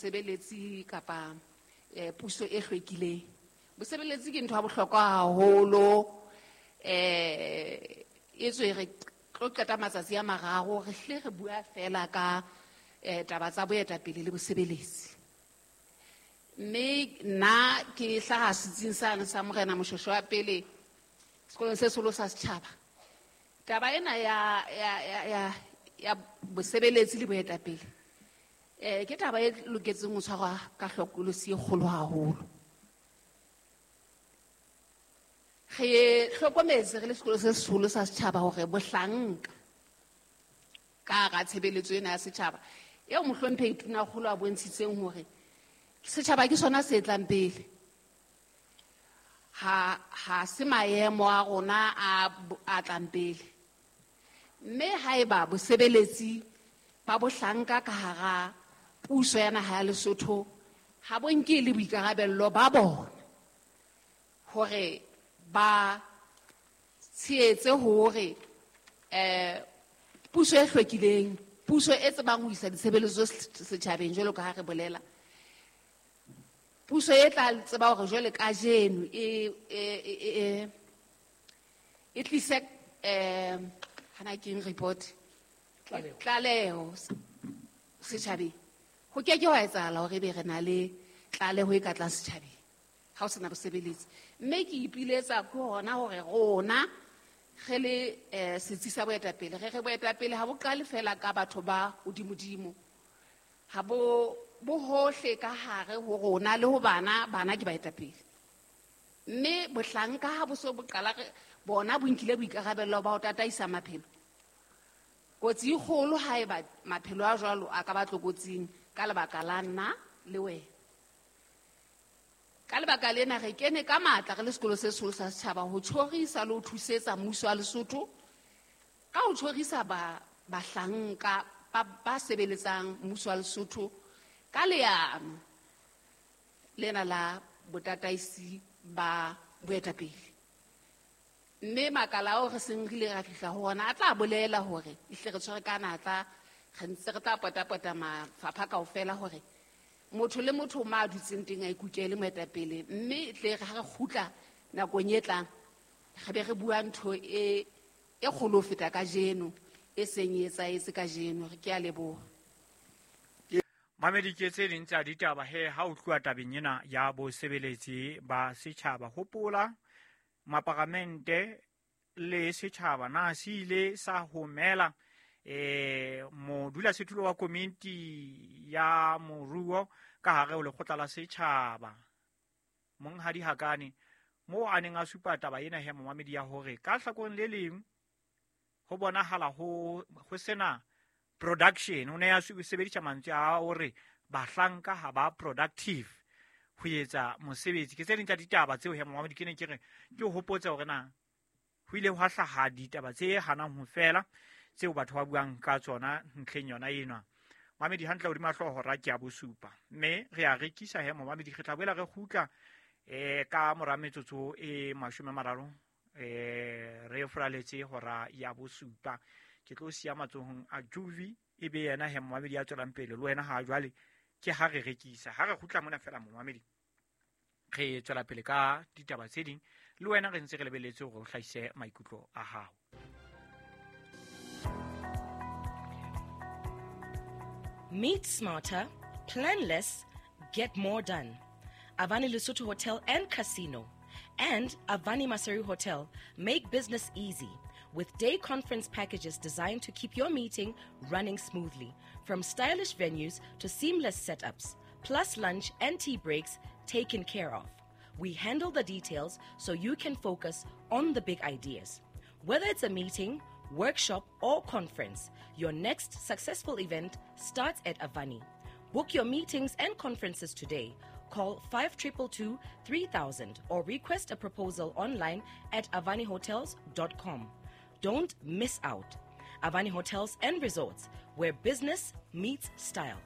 Bosebeletsi kapa puso e hlwekileng. Bosebeletsi ke ntho ya bohlokwa haholo, e tswe re tlo qeta matsatsi a mararo re hle re bua fela ka taba tsa boetapele le bosebeletsi. Mme nna ke hlaha setsing sane sa Morena Moshoeshoe wa pele sekolong se seholo sa setjhaba. Taba ena ya bosebeletsi le boetapele ke taba e loketseng ho tshwarwa ka hlokolosi e kgolo haholo. Re hlokometse re le sekolo se seholo sa setjhaba hore bohlanka ka hara tshebeletso ena ya setjhaba eo mohlomphehi Tonakgolo a bontshitseng hore setjhaba ke sona se tlang pele, ha se maemo a rona a tlang pele. Mme haeba bosebeletsi ba bohlanka ka hara puso ya naha ya Lesotho ha bo nke le boikarabello ba bona hore ba tshehetse hore puso e hlwekileng, puso e tsebang ho isa ditshebeletso setjhabeng jwalo ka ha re bolela, puso e tla tseba hore jwale kajeno e tlise hana ke eng report, tlaleho setjhabeng. Ho ke ke hwa etsahala hore ebe re na le tlaleho e ka tlang setjhabeng ha o sena bosebeletsi. Mme ke ipiletsa ke hona hore rona re le setsi sa boetapele, re boetapele ha bo qale fela ka batho ba hodimodimo, ha bo hohle ka hare ho rona le ho bana, bana ke baetapele. Mme bohlanka ha bo so bo qala, bona bo nkile boikarabello ba ho tataisa maphelo. Kotsi e kgolo haeba maphelo a jwalo a ka ba tlokotsing ka lebaka la nna le wena. Ka lebaka lena re kene ka matla re le sekolo se seholo sa setjhaba ho tjhorisa le ho thusetsa mmuso wa Lesotho ka ho tjhorisa bahlanka ba sebeletsang mmuso wa Lesotho ka leano lena la botataisi ba boetapele. Mme makala ao re seng re ile ra fihla ho ona a tla bolela hore ehlile re tshwere ka natla, re ntse re tla potapota mafapha kaofela hore motho le motho ma a dutseng teng a ikukele moetapele, mme e tle re ha re kgutla nakong e tlang re be re bua ntho e kgolo ho feta kajeno, e seng e etsahetse kajeno. Re ke a leboha. Mamedi, ke tse ding tsa ditaba he ha o tluwa tabeng ena ya bosebeletsi ba setjhaba. Hopola maparamente le setjhaba na se ile sa homela modulasetulo wa komiti ya moruo ka hare ho lekgotla la setjhaba Monghadi Hakane, moo a neng a supa taba ena he momamedi ya hore ka hlakoreng le leng ho bonahala ho sena production. O ne a sebedisa mantswe a hore bahlanka ha ba productive ho etsa mosebetsi. Ke tse ding tsa ditaba tseo he momamedi ke ne ke re ke hopotse hore na ho ile hwa hlaha ditaba tse hanang ho fela tseo batho ba buang ka tsona ntlheng yona enwa. Mamedi hantle hodima hlooho hora ke ya bosupa, mme re a rekisa he momamedi. Re tla boela re kgutla ka mora metsotso e 30 re furaletse hora ya bosupa. Ke tlo siya matsohong a Juvi, e be yena he momamedi ya tswelang pele le wena ha jwale ke ha re rekisa. Ha re kgutla mona fela momamedi, re tswela pele ka ditaba tse ding le wena, re ntse re lebeletse hore o hlahise maikutlo a hao. Meet smarter, plan less, get more done. Avani Lesotho Hotel and Casino and Avani Maseru Hotel make business easy with day conference packages designed to keep your meeting running smoothly, from stylish venues to seamless setups, plus lunch and tea breaks taken care of. We handle the details so you can focus on the big ideas. Whether it's a meeting, workshop, or conference, your next successful event starts at Avani. Book your meetings and conferences today. Call 5222 3000 or request a proposal online at avanihotels.com. Don't miss out. Avani Hotels and Resorts, where business meets style.